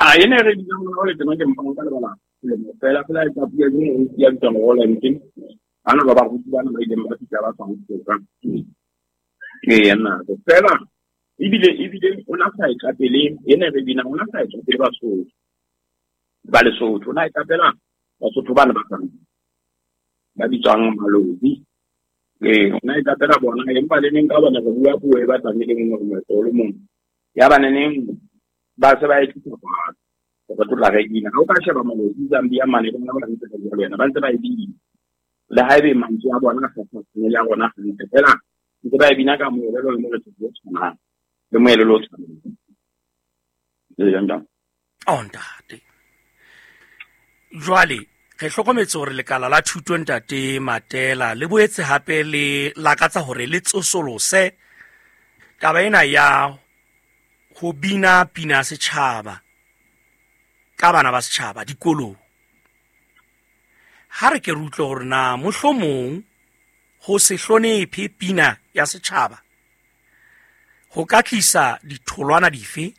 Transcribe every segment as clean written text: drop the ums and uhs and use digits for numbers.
A ene re binang mona le tena ke mpa nka lebala selemo fela fela e tla puo e nngwe ya bitswang Roland. Bana ba baruti bana ba ileng ba fihla ba tswang Toka. Ee, nna fela ebile o na sa e qapele ene re binang, o na sa e qapele Basotho ba Lesotho, o na e qapela Basotho bana ba tswang ba bitswang Malodi. Ee, o na e qapela bona, empa le neng ka bona re bua puo e batlang e le nngwe, moetlo o le mong. Ya ba neneng ba se ba e tlisa kwano re tlotla re bina. Ha o ka sheba Malodi Zambia mane, bona ba ntse ba bua le wena, ba ntse ba e bina. Le ha ebe mantswe a bona a sa tshwane le a rona hantle, fela ntse ba e bina ka moelelo le morethetho o tshwanang, le moelelo o tshwanang. Ee, ntate. Oh, ntate. Jwale re hlokometse hore lekala la thuto, ntate Matela, le boetse hape le lakatsa hore le tsosolose taba ena ya ho bina pina ya setjhaba ka bana ba setjhaba dikolong. Ha re ke re utlwe hore na mohlomong ho se hlonephe pina ya setjhaba ho ka tlisa ditholwana dife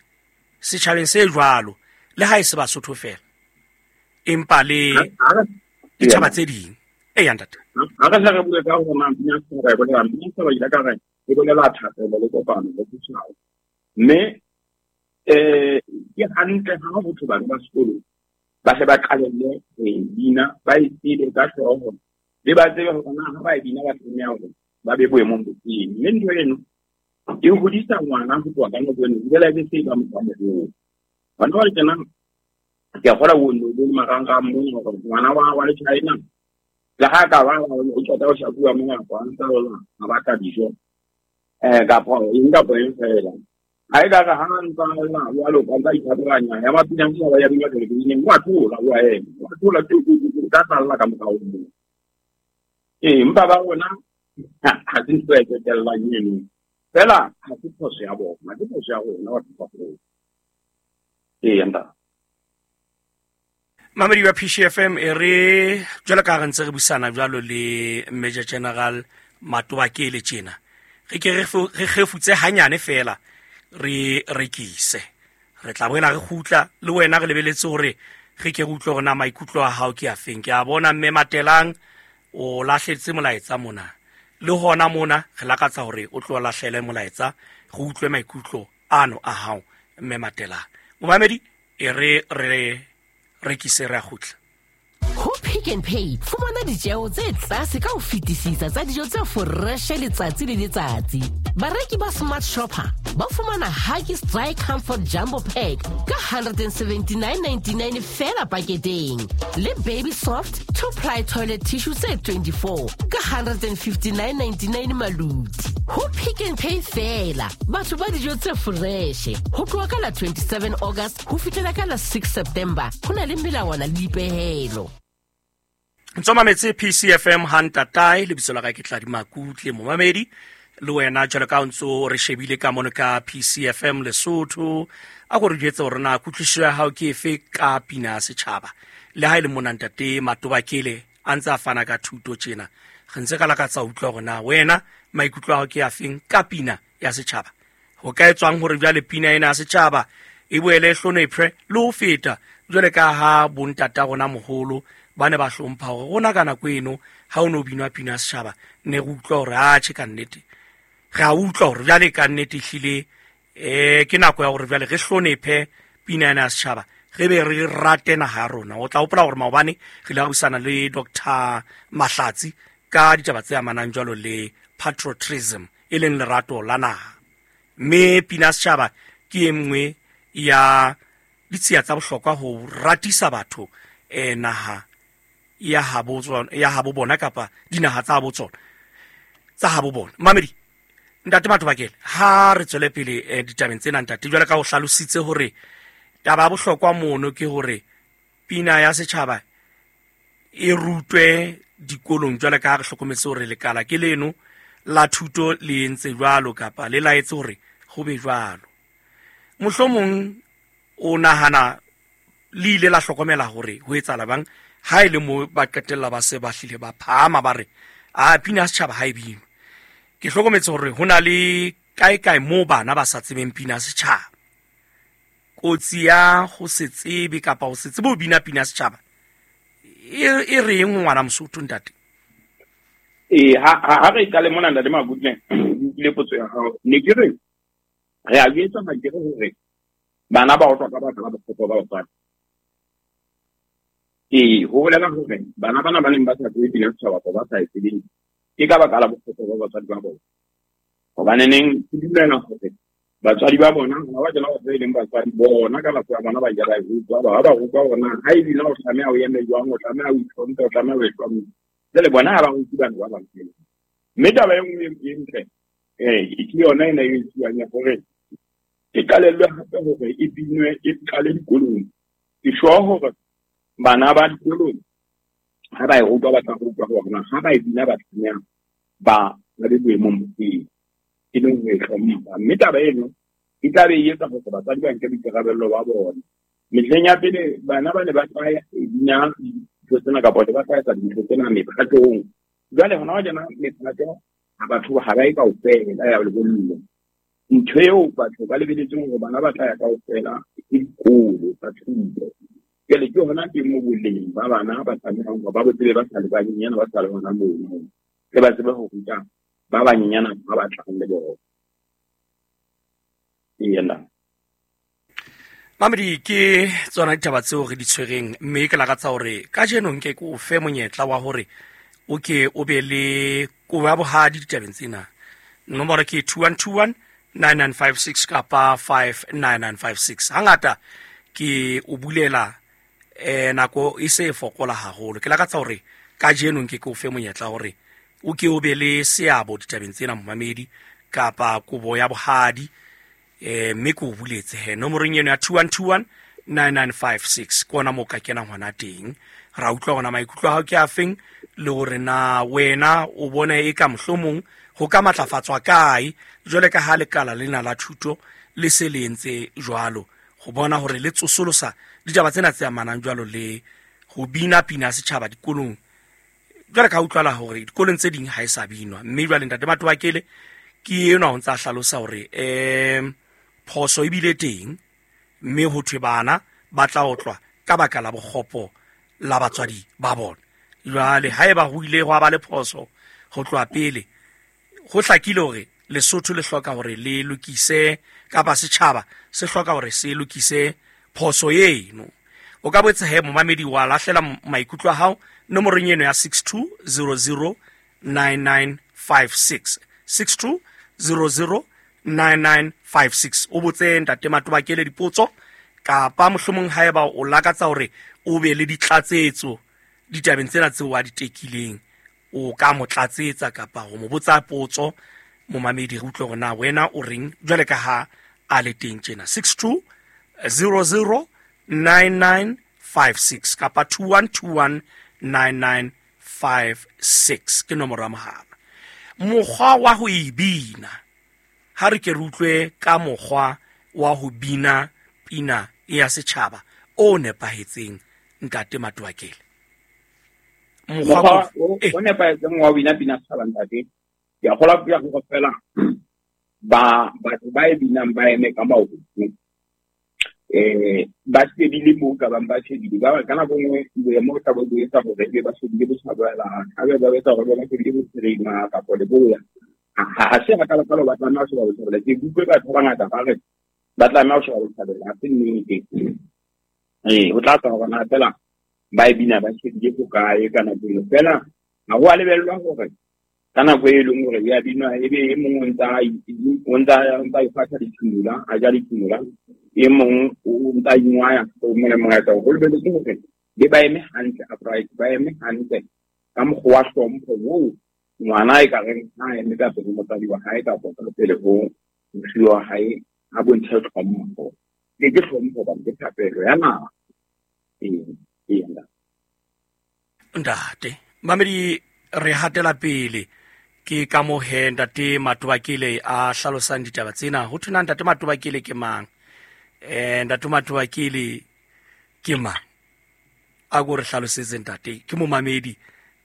setjhabeng se jwalo, le ha e se Basotho fela empa le ditjhaba tse ding. E ya ntate. Ha re hle re bue ka hore na pina ya setjhaba e bolela, pina ya setjhaba ile ka re e bolela thapelo le kopano le setjhaba. Mme ke hantle ha ho thwe bana ba sekolo ba hle ba qalelle ho e bina, ba e tsebe ka hlooho, le ba tsebe hore na ha ba e bina ba tlameha hore ba be boemong bo feng. Mme ntho eno e hodisa ngwana ho tloha ka nako eno, ebile e be se e ba motho a moholo. Hona jwale tjena ke a kgolwa o no bone marangrang mona hore ngwana wa le China le ha ka ba o qeta ho shapuwa mona, a ntsa lla a batla dijo kapa eng kapa eng fela. Ha e ka re ha ntsa lla jwalo ka ntsa ithatoranya ya ba pina setjhaba ya binwa television, wa thola wa ema, wa thola tu, tu, tu, tu, ka tlalla ka morao moo. Ee, empa ba rona ha se ntho e qetellang eno. Fela ha se phoso ya bona, ke phoso ya rona batho ba baholo. Ee, ntate. Mamedi wa PCFM, e re jwalo ka re ntse re busana jwalo le Major General Matobakele tjena, re ke re kgefutse hanyane fela re rekise, re tla boela re kgutla le wena, re lebeletse hore re ke re utlwe hore na maikutlo a hao ke a feng. Ke a bona mme Matelang o lahletse molaetsa mona, le hona mona re lakatsa hore o tlo lahlele molaetsa, re utlwe maikutlo ano a hao mme Matelang. Momamedi, e re re rekise, re a kgutla. Ho Pick n Pay fumana ditjeo tse tlase ka ho fetisisa tsa dijo tse foreshe letsatsi le letsatsi. Bareki ba Smart Shopper ba fumana Huggies Dry Comfort Jumbo Pack ka 179.99 fela paketeng, le Baby Soft 2-ply toilet tissue tse 24 ka 159.99 maluti. Ho Pick n Pay fela batho ba dijo tse foreshe ho tloha ka la 27 August ho fihlela ka la 6 September. Ho na le melawana le dipehelo. Ntso mametse PCFM ha ntatae, lebitso la ka ke Tladi Makutle. Momamedi, le wena jwalo ka o ntso re shebile ka mono ka PCFM Lesotho, a ko re jwetse hore na kutlwisiso ya hao ke efe ka pina ya setjhaba. Le ha e le mona ntate Matobakele a ntse a fana ka thuto tjena, re ntse ka lakatsa utlwa hore na wena maikutlo a hao ke a feng ka pina ya setjhaba. Ho ka etswang hore jwale pina ena ya setjhaba e boele e hlonephe le ho feta, jwale ka ha bontata rona moholo ba ne ba hlompha hore rona ka nako eno ha o no binwa pina ya setjhaba ne re utlwa hore atjhe ka nnete, re a utlwa hore jwale ka nnete ehlile ke nako ya hore jwale re hlonephe pina ena ya setjhaba, re be re rate naha ya rona. O tla hopola hore maobane re ile ra buisana le Doctor Mahlatsi ka ditaba tse amanang jwalo le patriotism, e leng lerato la naha. Mme pina ya setjhaba ke e nngwe ya ditshiya tsa bohlokwa ho ratisa batho naha ya habo tsona, ya habo bona kapa dinaha tsa habo tsona, tsa habo bona. Mamedi, ntate Matobakele, ha re tswele pele ditabeng tsena ntate, jwale ka o hlalositse hore taba ya bohlokwa mono ke hore pina ya setjhaba e rutwe dikolong, jwale ka ha re hlokometse hore lekala ke leno la thuto le entse jwalo kapa le laetse hore ho be jwalo. Mohlomong o nahana le ile la hlokomela hore ho etsahala bang ha e le mo ba qetella ba se ba hlile ba phahama ba re a pina ya setjhaba ha e binwe. Ke hlokometse hore ho na le kae kae moo bana ba sa tsebeng pina ya setjhaba. Kotsi ya ho se tsebe kapa ho se tsebe ho bina pina setjhaba e reng ngwana Mosotho ntate? Ee, ha re qale mona ntate Makutle, ke potso ya hao. Ne ke re re a jwetsa makere hore bana ba otlwa ka baka la bokgopo ba batswadi. Ee, ho bolela hore bana bana ba neng ba sa tsebe pina setjhaba kapa ba sa e tsebeng ke ka baka la bokgopo ba batswadi ba bona. Hobaneneng ke dumela hore batswadi ba bona ha ba kena batho e leng batswadi bona ka nako ya bona ba ile ba e rutwa, ba rutwa hore na ha e bina o tlameha o eme jwang, o tlameha o itlhomphe, o tlameha o e hlomphe. Jwale bona ha ba rute bana ba bang fela. Mme taba e nngwe e ntle ke yona ena e etsuwang ya hore e qalellwe hape hore e binwe e qale dikolong. Ke sure hore bana ba dikolong ha ba e rutwa ba tla rutwa hore na ha ba e bina ba tlameha ba be boemong bo feng, e leng ho e hlompha. Mme taba eno e tla be e etsa hore batswadi ba nke boikarabello ba bona. Mehleng ya pele bana ba ne ba tla bina dintho tsena kapa ba tla etsa dintho tsena mephatong. Jwale hona wa jena mephato ha batho ha ba e kaofela ya lebollo. Ntho eo batho ba lebeletseng hore bana ba tla ya kaofela ke dikolo tsa thuto. Jwale ke hona teng mo boleng ba bana ba tlamehang hore ba bo tsebe ba sa le banyenyana, ba sa le hona mono, tle ba tsebe ho ruta ba banyenyana ba batlang le bona. Ena Mamedi, ke tsona ditaba tseo re di tshwereng, mme ke lakatsa hore kajeno nke ke o fe monyetla wa hore o ke o be le kobo ya bohadi ditabeng tsena. Nomoro ke 2121 9956 kapa 59956. Hangata ke o bulela nako e se e fokola haholo. Ke lakatsa hore kajeno nke ke o fe monyetla hore o ke o be le seabo ditabeng tsena momamedi kapa kobo ya bohadi, mme ke o buletse he nomorong eno ya 2121 9956 ke ona moo ka kenang hona teng. Ra utlwa hona maikutlo a hao ke afeng, le hore na wena o bona e ka mohlomong ho ka matlafatswa kae jwale ka ha lekala lena la thuto le se le entse jwalo, ho bona hore le tsosolosa ditaba tsena tse amanang jwalo le ho bina pina setjhaba dikolong. Jwale ka utlwala hore dikolong tse ding ha e sa binwa, mme jwale ntate Matobakele ke enwa ho ntsa hlalosa hore phoso ebile teng, mme ho thwe bana ba tla otlwa ka baka la bokgopo la batswadi ba bona. Jwale haeba ho ile hwa ba le phoso ho tloha pele, ho hlakile hore Lesotho le hloka hore le lokise kapa setjhaba se hloka hore se lokise phoso eno. O ka botsa he momamedi wa lahlela maikutlo a hao nomorong eno ya 6200 9956, 6200 9956. O botse ntate Matobakele dipotso kapa mohlomong haeba o lakatsa hore o be le ditlatsetso ditabeng tsena tseo a di tekileng, o ka mo tlatsetsa kapa ho mo botsa potso momamedi, re utlwe hore na wena o reng jwale ka ha a le teng tjena. 6200 9956 kapa 2121 9956 ke nomoro ya mohala. Mokgwa wa ho e bina, ha re ke re utlwe ka mokgwa wa ho bina pina ya setjhaba o nepahetseng ntate Matobakele. Mokgwa o nepahetseng wa ho bina pina setjhaba ntate, ke a kgolwa ke ya hore fela ba batho ba e binang ba eme ka maoto, ba shebile moo ka bang ba shebile ba ka nako nngwe boemo bo tla bo etsa hore ebe ba shebile botjhabela, hape ba etsa hore ba shebile bophirima kapa leboya. Ha se hakalo-kalo ba tlameha ho sheba botjhabela. Ke utlwe batho ba bangata ba re ba tlameha ho sheba botjhabela, ha se nnete. Ho tla tswa hore na fela ba e bina ba shebile hokae ka nako eno. Fela ha ho a lebellwa hore ka nako e leng hore ya binwa ebe e mong o ntsa ifatha dithumula, a ja dithumula, e mong o ntsa ingwaya, o mong le mong a etsa hore ho lebelletswe hore be ba eme hantle upright, ba eme hantle ka mokgwa wa hlompho oo ngwana e ka reng ha eme ka pele motswadi wa hae kapa ka pele ho mosuwe wa hae, a bontshe hlompho. Ke hlompho hobane ke thapelo ya naha. Ee, ntate mamedi, re hatela pele ke ka mo he ntate Matobakele a hlalosang ditaba tsena. Ho thwe na ntate Matobakele ke mang? Ntate Matobakele ke mang? A ko re hlalosetse ntate, ke momamedi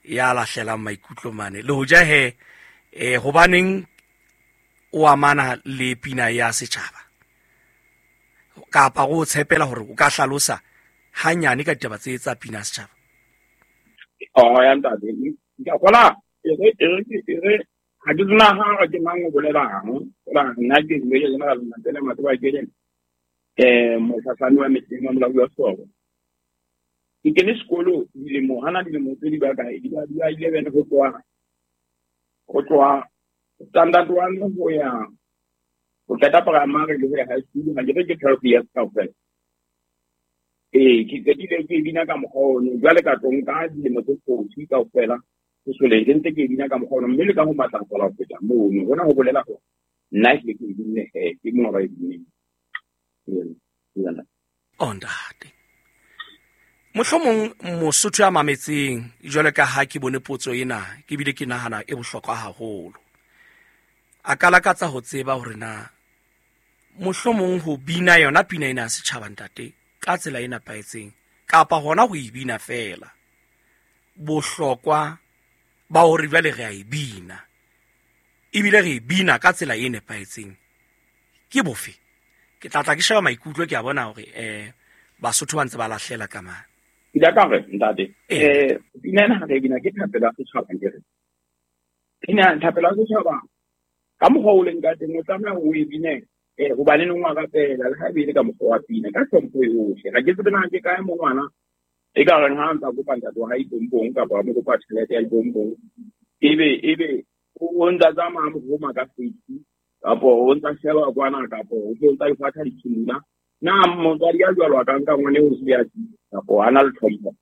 ya lahlelang maikutlo mane. Le hoja he hobaneng o amana le pina ya setjhaba? Kapa go tshepela gore o ka hlalosa hanyane ka ditaba tse tsa pina ya setšhaba. Oh ya ntate, ke a gola e re e re e re ha ke tsena ha ke mang o bolelang gola nna ke Major General Matele Matobakele, motlhatlhami wa mehleng wa molaodi wa soro. Ke kene sekolo dilemo hana dilemo tse di ba kae, di ba 11, go tloha standard 1 go ya go qeta primary le go ya high school. Ha ke re ke 12 years kaofela. Ee, ke qetile ke bina ka mokgwa ono. Jwale ka tlo nka dilemo tse 40 kaofela sesoleng ke ntse ke bina ka mokgwa ono, mme le ka ho matlafala ho feta mono. Hona ho bolela hore nna ehlile ke e binne, he ke mongwe ba e binneng. O ntate, mohlomong mosotho ya mametseng jwale ka ha ke bone potso ena, ke bile ke nahana e bohlokwa haholo, a ka lakatsa ho tseba hore na mohlomong ho bina yona pina ena ya setjhaba, ntate, ka tsela e nepahetseng kapa hona ho e bina feela, bohlokwa ba hore jwale re a e bina ebile re e bina ka tsela e nepahetseng ke bofe. Ke tla tla ke sheba maikutlo, ke a bona hore Basotho ba ntse ba lahlela ka mane. Ke ile ka re ntate, pina ena ha re e bina ke thapelo ya setjhaba. Ke re pina thapelo ya setjhaba ka mokgwa o leng ka teng, o tlameha o e bine hobane neng wa rapela, le ha ebe e le ka mokgwa wa pina ka hlompho yohle. Ha ke tsebe na ke kae mo ngwana e ka reng ha ntsa kopa ntate wa hae dipompong kapa a mo kopa tjhelete ya dipompong, ebe o ntsa tsamaya mo roma ka face, kapo o ntsa sheba kwana, kapo o tlo ntsa ifatha ditshimula. Na motswadi ya jwalo a ka nka ngwane o se ya kapo a na le tlhompho?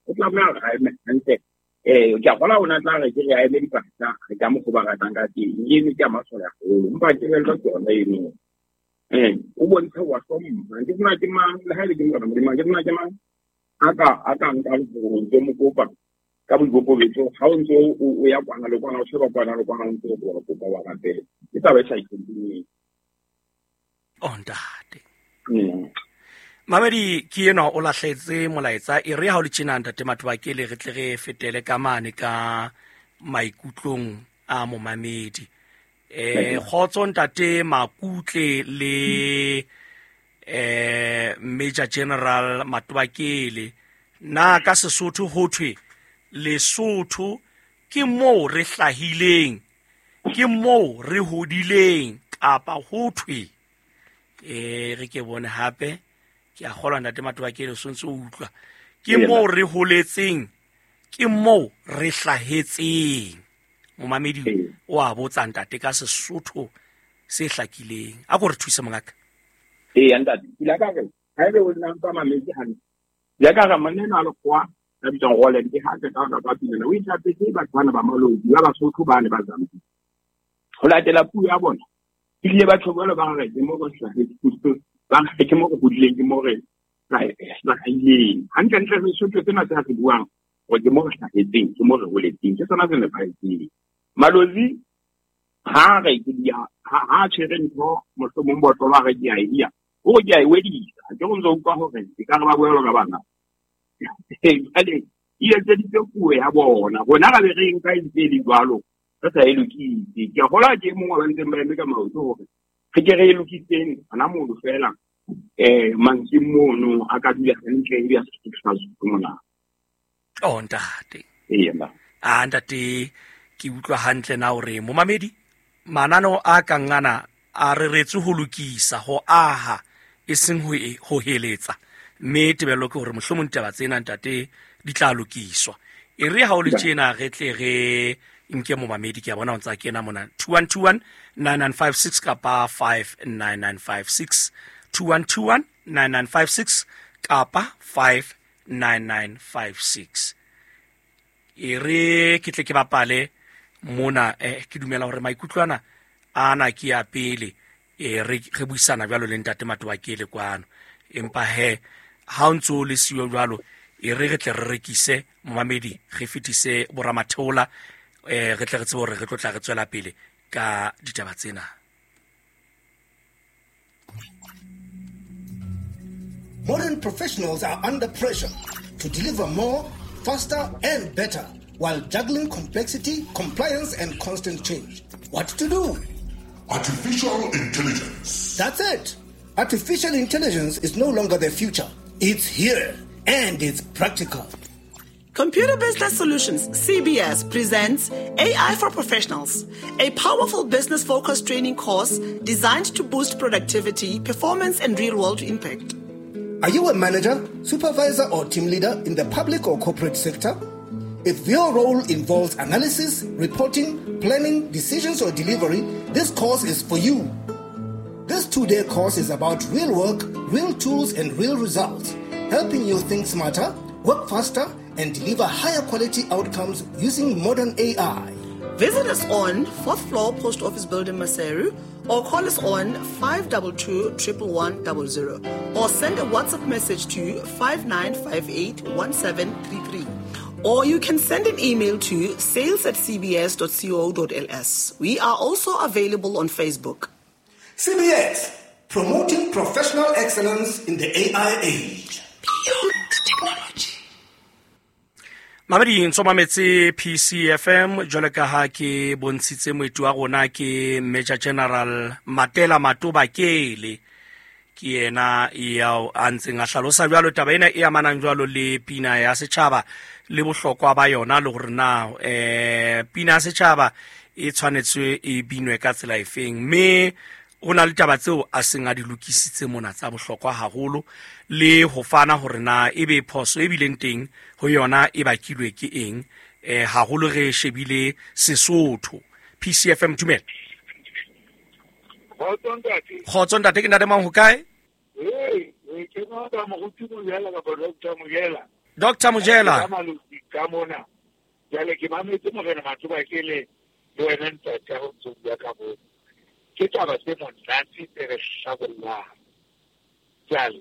O tlameha hore a eme hantle. Ke a kgola o na tla re ke re a eme dipasa re ka mokgwa ba ratang ka teng, eno ke a masole haholo, empa kelello ke yona eno. O bontshe wa hlompha. Ke sena ke mang, le ha ele ke Morena Modimo, ke sena ke mang a ka nkang hore ntse mo kopa ka boikokobetso ha o ntse o ya kwana le kwana, o sheba kwana le kwana, o ntse o wa kopa, wa rapela. Ke taba e sa itlhompheng. O ntate. Mamedi ke enwa o lahletse molaetsa. E re ha o le tjena, ntate Matobakele, re tle re fetele ka mane ka maikutlong a momamedi. Kgotso ntate Makutle le Major General Matobakele. Na ka Sesotho ho thwe Lesotho ke moo re hlahileng, ke moo re hodileng, kapa ho thwe re ke bone hape? Ke a kgolwa ntate Matobakele o sontse o utlwa. Ke moo re holetseng, ke moo re hlahetseng? Momamedi o a botsa, ntate, ka Sesotho se hlakileng. A ko re thuse, mongaka. Ee ntate, ke ile ka re ha ebe o nna ntsa mametse hantle, ke ile ka re monna enwa a lekgowa ya bitswang Roland ke ha qeta ho rapa pina, o ithapetse batho bana ba Malodi ba Basotho bane ba Zambia ho latela puo ya bona. Ebile batho jwalo ba re ke mo re hlahetseng, ba re ke mo re hodileng, ke mo re hlahileng. Hantlentle Sesotho sena se se buang hore ke mo re hlahetseng, ke mo re holetseng, ke sona se nepahetseng. Malozi ha re ke dia ha tshwere ntho, mohlomong botlolo, a re ke a e dia, o re ke a e wedisa. Ke go ntse utlwa hore e ka re ba buela ka bana jwale e etseditse puo ya bona. Rona ra be re nka e ntse e le jwalo, re sa e lokise. Ke a kgolwa ke e mongwe wa ba ntseng ba eme ka maoto hore re ke re e lokiseng hona mono feela, mantsweng mono a ka dula hantle ebe ya Sesotho sa Sesotho mona. O ntate. Ee na. A ntate, ke utlwa hantle na hore momamedi, mananeo a kang ana a reretswe ho lokisa, ho aha, e seng ho heletsa, mme tebello ke hore mohlomong ditaba tsena, ntate, di tla lokiswa. E re ha o le tjena re tle re nke momamedi. Ke a bona o ntsa kena mona. 2121 9956 kapa 59956, 2121 9956 kapa 59956. E re ke tle ke bapale mona. Ke dumela hore maikutlo ana ana ke ya pele. Re buisana jwalo le ntate Matobakele kwano, empa he ha o ntso le siyo jwalo, e re re tle re rekise momamedi, re fetise boramatheola, re tle re tsebe hore re tlo tla re tswela pele ka ditaba tsena. Modern professionals are under pressure to deliver more, faster, and better while juggling complexity, compliance, and constant change. What to do? Artificial intelligence. That's it. Artificial intelligence is no longer the future. It's here and it's practical. Computer Business Solutions, CBS, presents AI for Professionals, a powerful business focused training course designed to boost productivity, performance, and real world impact. Are you a manager, supervisor, or team leader in the public or corporate sector? If your role involves analysis, reporting, planning, decisions, or delivery, this course is for you. This 2-day course is about real work, real tools, and real results, helping you think smarter, work faster, and deliver higher quality outcomes using modern AI. Visit us on 4th floor Post Office Building, Maseru, or call us on 522 11100 or send a WhatsApp message to 5958 1733. Or you can send an email to sales at cbs.co.ls. We are also available on Facebook. CBS, promoting professional excellence in the AI age. Beyond technology. Mamedi ntso mametse PCFM jwale ka ha ke bontshitse moeti wa rona ke Major General Matela Matobakele, ke yena yao a ntseng a hlalosa jwalo taba ena e amanang jwalo le pina ya setjhaba le bohlokwa ba yona, le hore na pina ya setjhaba e tshwanetse e binwe ka tsela efeng, mme ho na le taba tseo a seng a di lokisitse mona tsa bohlokwa haholo, le ho fana hore na ebe phoso e bileng teng ho yona e bakilwe ke eng, haholo re shebile Sesotho. PCFM, dumela. Kgotso ntate, ke ntate mang, ho kae? Ke nna Moruti Mojela kapa Dr. Mojela. Dr. Mojela. Ka mona. Jwale ke mametse Morena Matobakele le wena ntate ha o ntso bua ka moo. Ke taba tse monate tse re hlabollang. Jwale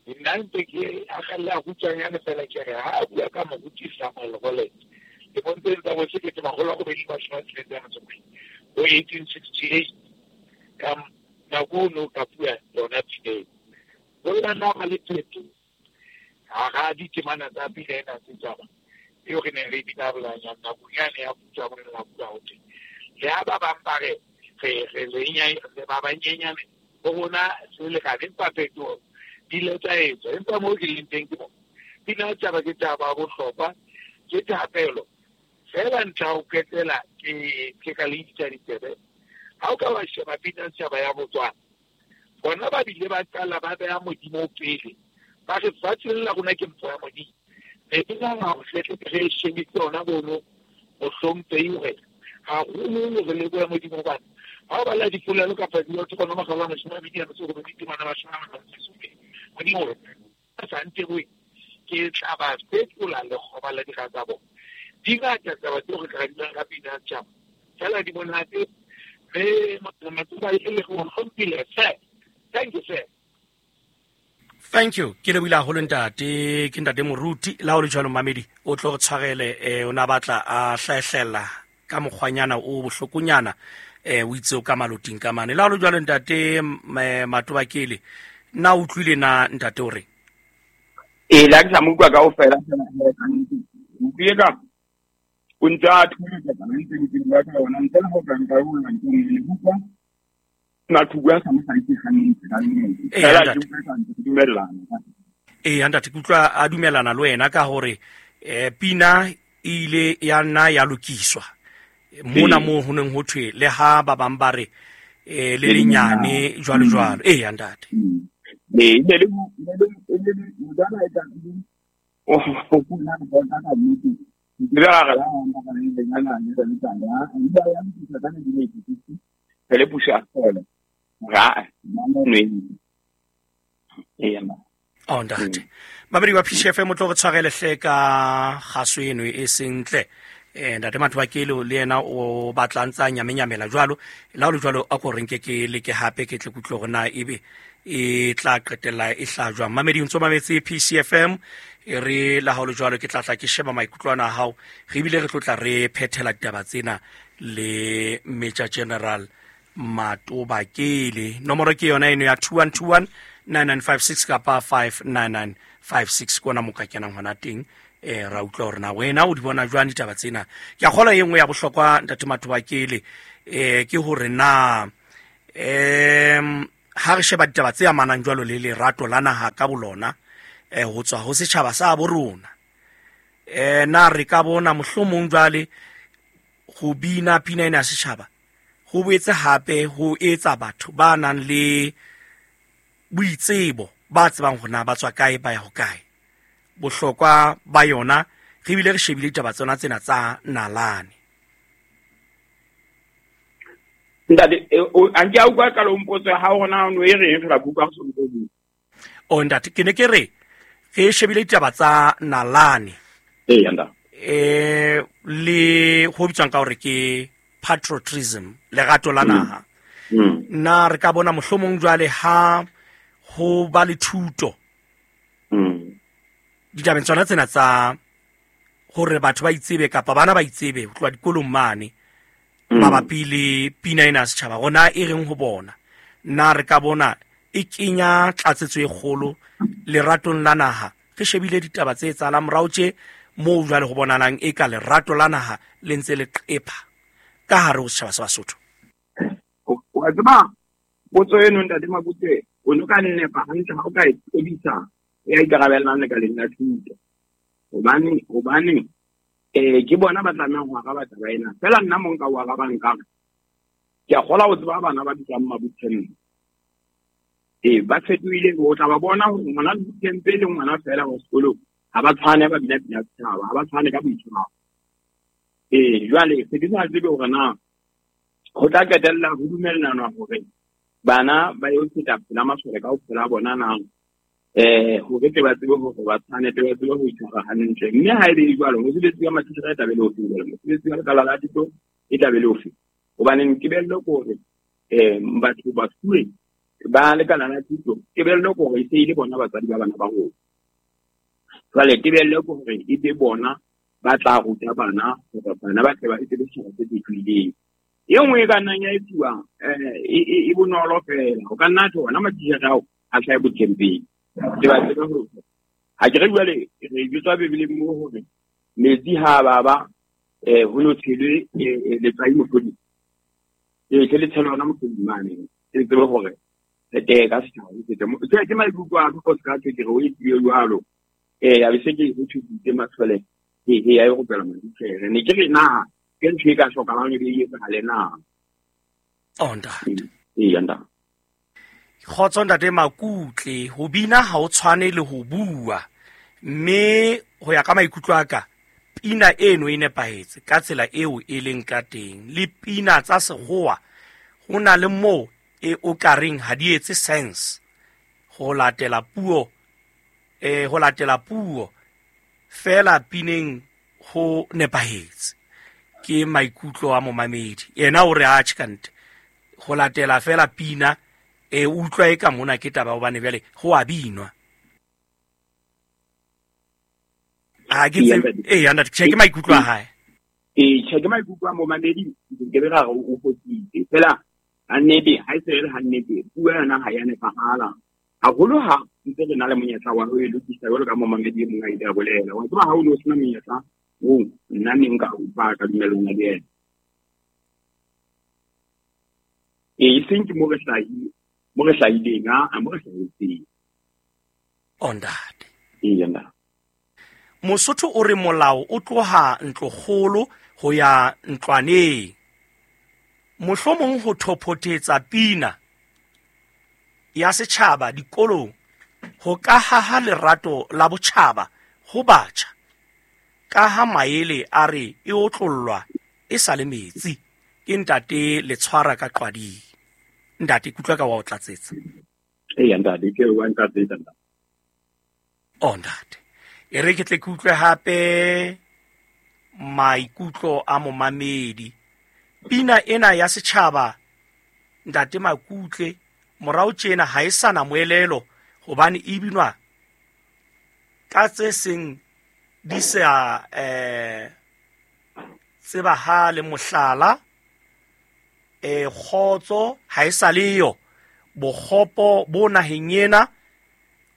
nna ntse ke akgella kgutshwanyane fela ke re ha a bua ka Moruti Samuel Rollet lemong tsa bo 1862, bo 1868, ka nako ono ka bua yona pina eo. Bolla nna ba le pheto hara ditemana tsa pina ena setjhaba eo re neng re bina bolanyana nakong yane ya puso ya Morena bua ho teng. Le ha ba bang ba re re ba banyenyane ho rona se lekane, empa phetoho di ile tsa etswa. Empa moo ke leng teng ke mo pina ya setjhaba ke taba ya bohlokwa, ke thapelo fela. Ntlha ho qetela ke ka le itsa ditsebe. Ha o ka wa sheba pina ya setjhaba ya Botswana, bona ba bile ba qala ba beha Modimo pele, ba re fatshe la rona ke mpho ya Modimo. Ne ke nahana hore hle re shebise hona bono mohlomphehi hore haholo re lebohe Modimo, hobane ha o bala dipolelo kapa dilo tse kgona makgolo a 28 temana 57, Modimo hore a sa ntebohe ke tla ba fetola lekgoba la dira tsa bona. Di ngata taba tseo re ka di buang ka pina ya setjhaba, fela di monate. Mme Matobakele go hlomphile, sir. Thank you, sir. Thank you. Ke lebohile haholo ntate, ke ntate Moruti. La ho le jwalo mamedi, o tlo re tshwarele, o na batla a hlahlella ka mokgwanyana o bohlokonyana, o itse o ka maloting ka mane. La ho le jwalo ntate Matobakele, na o utlwile na ntate o reng? Ee, la ke sa mo utlwa kaofela, utlwile ka o ntse a thusa ka ntse ke bua ka yona, ntle le ho ka nka o nna ke utlwa Mathubu a sa mo hlakise hantle ka nnete. Fela ke utlwa ka ntse ke dumellana. Ee, ntate, ke utlwa a dumellana le wena ka hore pina e ile ya nna ya lokiswa mona moo ho neng ho thwe le ha ba bang ba re le lenyane jwalo jwalo. Ee, ntate. Ee, e le motwana e tla o funa go bona ka nnete. Ke ra re la ona ka le nyana le le tsana. E ya lokiswa ka 1986. Re puso a fola. Ra nwe. Ee, ma. Oh, ntate. Babedi wa PCFM o tlo re tshwarele hle ka kgaso eno e sentle. Ntate Matobakele le yena o batla ntsa nyamenyamela jwalo. La ho le jwalo a ko re nke ke leke hape ke tle ke utlwe hore na ebe e tla qetella e hla jwang. Mamedi ntso mametse PCFM, e re la ha ho le jwalo ke tla tla ke sheba maikutlo ana a hao, re bile re tlo tla re phethela ditaba tsena le Major General Matobakele. Nomoro ke yona eno ya 2121 9956 kapa 59956, ke ona mo ka kenang hona teng. Ra utlwa hore na wena o di bona jwang ditaba tsena. Ke a kgolwa e nngwe ya bohlokwa ntate Matobakele, ke hore na Ha re sheba ditaba tse amanang jwalo le lerato la naha ka bolona, ho tswa ho setjhaba sa bo rona, na re ka bona mohlomong jwale ho bina pina ena ya setjhaba ho boetse hape ho etsa batho ba nang le boitsebo, ba tsebang hore na ba tswa kae, ba ya hokae, bohlokwa ba yona, re bile re shebile ditaba tsona tsena tsa nalane. Ntate, a nke a utlwa qalong potso ya hao hore na o no e reng fela, ke utlwa ho so ntso bua. O ntate, ke ne ke re re shebile ditaba tsa nalane. Ee, ntate. Le ho bitswang ka hore ke patriotism, lerato la naha. Na re ka bona mohlomong jwale ha ho ba le thuto ditabeng tsona tsena tsa hore batho ba itsebe kapa bana ba itsebe ho tloha dikolong mane mabapi le pina ena ya setjhaba, rona e reng ho bona, na re ka bona e kenya tlatsetso e kgolo leratong la naha? Re shebile ditaba tse etsahalang morao tje moo jwale ho bonalang e ka lerato la naha le ntse le qepha ka hare ho setjhaba sa Basotho. Wa tseba potso eno, ntate Makute, o no ka nnepa hantle ha o ka e tobisa ya ikarabellang lekaleng la thuto, hobane ke bona ba tlamehang ho araba taba ena. Fela nna mo nka o arabang ka re ke a kgola ho tseba bana ba bitswang Mabuthembe. Ba fetohile, o tla ba bona hore ngwana Bothembe le ngwana fela wa sekolong ha ba tshwane, ba bina pina setjhaba, ha ba tshwane ka boitshwaro. Jwale se ke sa tsebe hore na ho tla qetella ho dumellanwa hore bana ba yo feta pela masole kaofela a bona na, hore tle ba tsebe hore ba tshwane, tle ba tsebe ho itshwara hantle. Mme ha e le jwalo, mosebetsi wa matitjhere e tla be le ofe jwale? Mosebetsi wa lekala la thuto e tla be le ofe? Hobane tebello ke hore, batho ba fuwe ba lekala la thuto, tebello ke hore e se e le bona batswadi ba bana ba rona. Jwale tebello ke hore e be bona ba tla ruta bana hore bana ba tle ba etse setjhaba se fetohileng. E nngwe e ka nnang ya etsuwa, e bonolo fela. O ka nna tjho ona matitjhere ao a hlahe bothempeng. Ke ba tsebe hore ha ke re jwale re jwetswa Bibeleng moo hore metsi ha a baba, ho no tshelwe, letswai mohloding. Tle le tshele hona mohloding mane. Ke tsebe hore re teye ka setjhaba se fete. Ke maikutlo a ka, o se ka thwe ke re o etsuwe jwalo. Ya be se ke ho thusitse matshwele, he, ya e rupela matitjhere. Ne ke re na ke ntho e ka hlokahalang e be e etsahale na? Oh, ntate. Ee, ntate. Kgotso ntate Makutle, ho bina ha o tshwane le ho bua, mme ho ya ka maikutlo a ka, pina eno e nepahetse ka tsela eo e leng ka teng. Le pina tsa sekgowa ho na le moo e o ka reng ha di etse sense ho latela puo, ho latela puo fela pineng ho nepahetse. Ke maikutlo a momamedi, yena o re atjhe kante ho latela fela pina, utlwa e ka mona ke taba hobane jwale ho a binwa. Ha ke tsebe, ntate, tjhe, ke maikutlo a hae. Tjhe, ke maikutlo a momamedi, ke be ra re o fositse. Fela ha nnete, ha e se re ha nnete, puo yona ha ya nepahala. Haholo ha ntse re na le monyetla wa ho e lokisa jwalo ka momamedi e mong a ile a bolela. Wa tseba ha o no sena monyetla oo, nna ne nka utlwa ka dumellana le yena. E seng ke mo re hlahile, mo re hlahileng, a mo re hlahetseng. O ntate. Ee, ntate. Mosotho o re molao o tloha ntlokgolo ho ya ntlwaneng. Mohlomong ho thophotetsa pina ya setjhaba dikolong ho ka haha lerato la botjhaba ho batjha, ka ha maele a re e otlollwa e sa le metsi. Ke ntate le tshwara ka qwading. Ntate, ke utlwa ka wa o tlatsetsa. Ee, ntate, ke wa ntlatsetsa, ntate. Oh, ntate. E re ke tle ke utlwe hape maikutlo a momamedi. Pina ena ya setjhaba, ntate Makutle, morao tjena ha e sa na moelelo hobane e binwa ka tse seng di sa, tsebahale, mohlala, kgotso ha e sa leyo, bokgopo bo naheng ena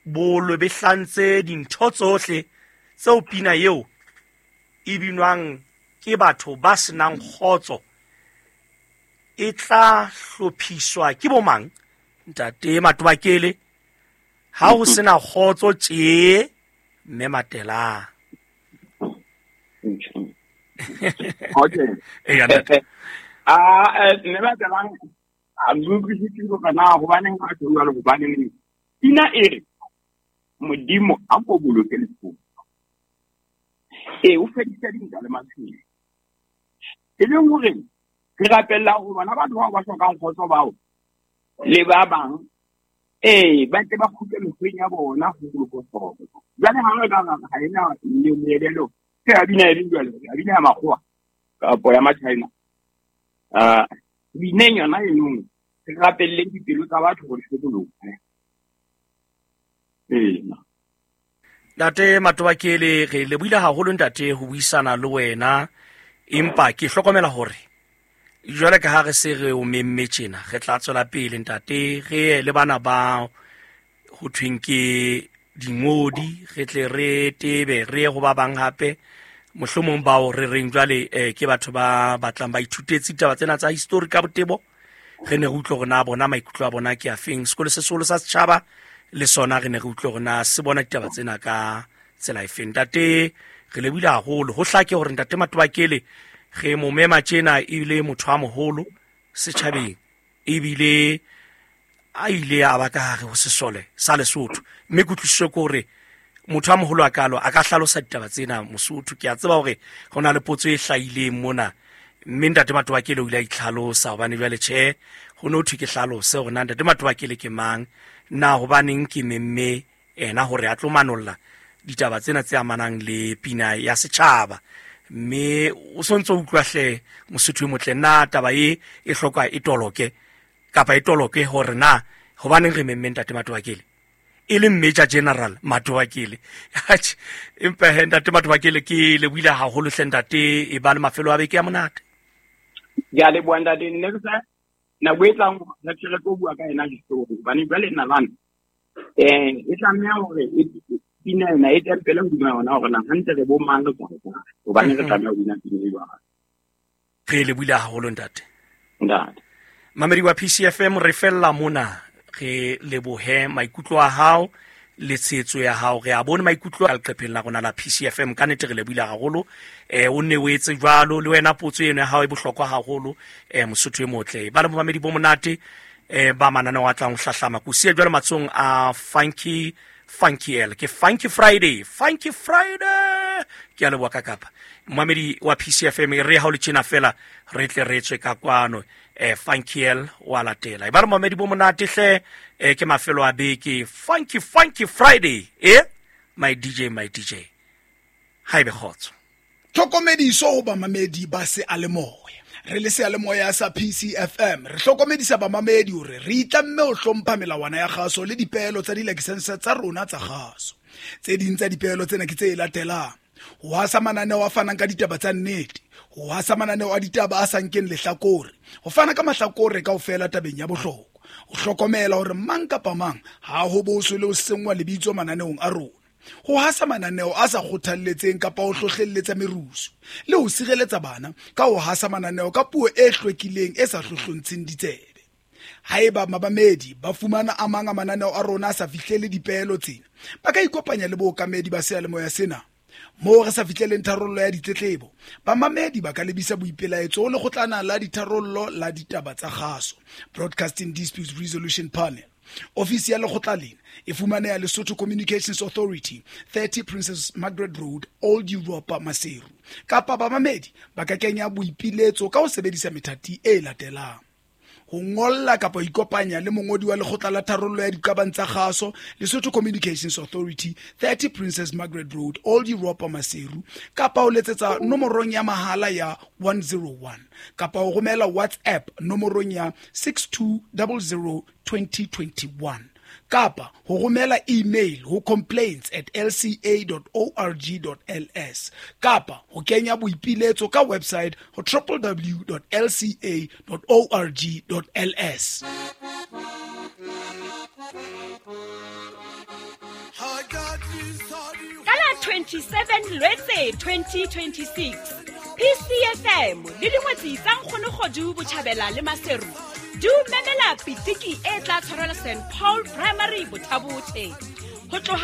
bo lwebehlantse dintho tsohle tseo pina eo e binwang ke batho ba senang kgotso e tla hlophiswa ke bomang? Ntate Matobakele, ha ho sena kgotso tje mme Matelang. Okay. Eya, ntate. Mme Matelang a utlwisitse hore na hobaneng a tjho jwalo, hobaneng pina e re Modimo a ko boloke Lesotho. Ee, o fedisa dintwa le maphelo. E leng hore re rapella hore bona batho bao ba hlokang kgotso bao le ba bang, ee, ba tle ba kgutle mekgweng ya bona ho boloka kgotso. Jwale ha re ka ra ha ena le moelelo, ke ya bina e leng jwale, ya bina ya makgowa kapo ya Machina. Bineng yona eno, re rapelleng dipelo tsa batho hore di fetolohe. Ee. Ntate Matobakele, re lebohile haholo ntate ho buisana le wena, empa ke hlokomela hore jwale ka ha re se re o memme tjena, re tla tswela pele ntate, re ye le bana ba ho thweng ke dingodi, re tle re tebe re ye ho ba bang hape, mohlomong bao re reng jwale ke batho ba batlang ba ithutetse ditaba tsena tsa history ka botebo, re ne re utlwe hore na bona maikutlo a bona ke a feng. Sekolo se seholo sa setjhaba le sona re ne re utlwe hore na se bona ditaba tsena ka tsela e feng. Ntate, re lebohile haholo. Ho hlake hore ntate Matobakele re mo mema tjena ebile motho a moholo setjhabeng, ebile a ile a ba ka hare ho sesole sa Lesotho, mme kutlwisiso ke hore motho a moholo a kalo a ka hlalosa ditaba tsena Mosotho. Ke a tseba hore ho na le potso e hlahileng mona, mme ntate Matobakele o ile a itlhalosa, hobane jwale tjhe ho no thwe ke hlalose hore na ntate Matobakele ke mang, na hobaneng ke memme ena hore a tlo manolla ditaba tsena tse amanang le pina ya setjhaba. Mme o sontso o utlwa hle Mosotho e motle, na taba e e hloka e toloke kapa e toloke hore na hobaneng re memme ntate Matobakele e le Major General Matobakele. Atjhe, empa he ntate Matobakele ke lebohile haholo hle ntate, e ba le mafelo a beke ya monate. Ke a leboha ntate, nne re sa nako e tlang re tle re tlo bua ka ena history, hobane jwale nalane e tlameha hore pina ena e tempele hodima yona hore na hantle re bo mang re tswa kae, hobane re tlameha ho bina pina e jwang. Re lebohile haholo ntate. Ntate. Mamedi wa PCFM, re fella mona, re lebohe maikutlo a hao le tshehetso ya hao. Re a bone maikutlo a leqepheng la rona la PCFM, ka nnete re lebohile haholo. O nne o etse jwalo le wena, potso eno ya hao e bohlokwa haholo. Mosotho e motle, ba le momamedi bo monate ba mananeo a tlang ho hlahlama. Ko siya jwale matsohong a Funky Funky L, ke Funky Friday, Funky Friday. Ke a leboha ka kapa momamedi wa PCFM, e re ha o le tjena fela re tle re tswe ka kwano. Funky L wa latela. E ba re momamedi bo monate hle, ke mafelo a beke, Funky Funky Friday. My DJ, my DJ, ha ebe kgotso. Tlhokomediso ho bamamedi ba seyalemoya. Re le seyalemoya sa PCFM, re hlokomedisa bamamedi hore re itlamme ho hlompha melawana ya kgaso le dipeelo tsa dilakesense tsa rona tsa kgaso. Tse ding tsa dipeelo tsena ke tse latelang: ho hasa mananeo a fanang ka ditaba tsa nnete, ho hasa mananeo a ditaba a sa nkeng lehlakore, ho fana ka mahlakore kaofela tabeng ya bohlokwa, ho hlokomela hore mang kapa mang ha ho boswe le ho senngwa lebitso mananeong a rona, ho hasa mananeo a sa kgothalletseng kapa ho hlohlelletsa merusu, le ho sireletsa bana ka ho hasa mananeo ka puo e hlwekileng e sa hlohlontsheng ditsebe. Haeba mabamedi ba fumana a mang a mananeo a rona a sa fihlele dipeelo tsena, ba ka ikopanya le bookamedi ba seyalemoya sena. Moo re sa fihleleng tharollo ya ditletlebo, bamamedi ba ka lebisa boipelaetso ho lekgotlana la ditharollo la ditaba tsa kgaso, Broadcasting Disputes Resolution Panel. Ofisi ya lekgotla lena e fumaneha Lesotho Communications Authority, 30 Princess Margaret Road, Old Europa, Maseru. Kapa bamamedi ba ka kenya boipiletso ka ho sebedisa methati e latelang: ho ngolla kapa ho ikopanya le mongodi wa lekgotla la tharollo ya diqabang tsa kgaso, Lesotho Communications Authority, 30 Princess Margaret Road, Old Europa, Maseru, kapa ho letsetsa nomorong ya mahala ya 101, kapa ho romela WhatsApp nomorong ya 6200 2021, kapa ho romela email ho complaints@lca.org.ls, kapa ho kenya boipiletso ka website ho www.lca.org.ls. Ka la 27 Lwetse 2026, PCFM le dingwetsi tsa Nkgono Kgodu Botjhabela le Maseru di Di o memela pitiki e tla tshwarelwa St Paul Primary Bothabothe. Ho tloha